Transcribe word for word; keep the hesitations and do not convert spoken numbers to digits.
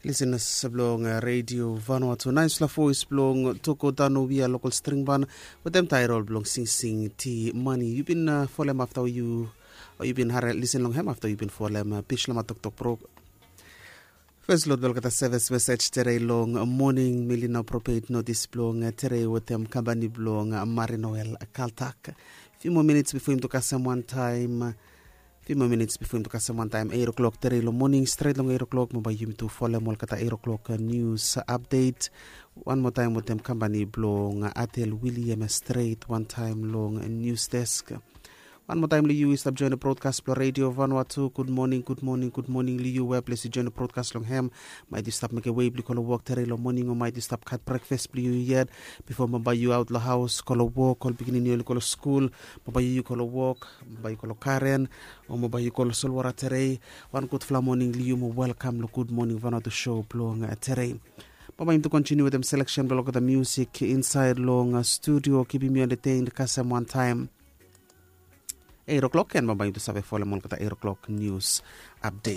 Lisenas blong redio Vanuatu, naisfala voes blong Toko Dano Wia, lokal stringban, wetem taerol blong Singsing Ti Mani. Yu bin folem afta yu, o yu bin harim lisen long hem afta yu bin folem Bislama Toktok Pro. Fes lot blong olgeta sevis mesej tere long moning, mi lino propet notis blong tere wetem kampani blong Marinoel Kaltak. Fiu moa minits bifo yumi tu kasem wantaem fiu moa minits bifo yumi tu kasem wantaem eiro klok tere long moning, stret long eiro klok mo bae yumi tu folem olgeta eiro klok nius apdet. Wan moa taem wetem kampani blong Atel William stret wantaem long nius desk. Wan moa taem long yu i stap joen long brodkas blong redio Vanuatu, gudmoning, gudmoning, gudmoning long yu we ples i joen long brodkas long hem. Maet yu stap mekem wei blong yu go long wok tere long moning o maet yu stap gat brekfes blong yu yet bifo mo bae yu aot long haos go long wok, ol pikinini oli go long skul, mo bae yu go long wok, mo bae yu go long garen, o mo bae yu go long solwara tere. Wan gudfala moning long yu mo welkam long Gudmoning Vanuatu show blong tere. Bambae yumi tu kontiniu wetem seleksen blong olgeta musik insaed long studio, kipim yu entertained kasem wantaem eiro klok, en bambae yumi tu save folem olgeta eiro klok nius apdet.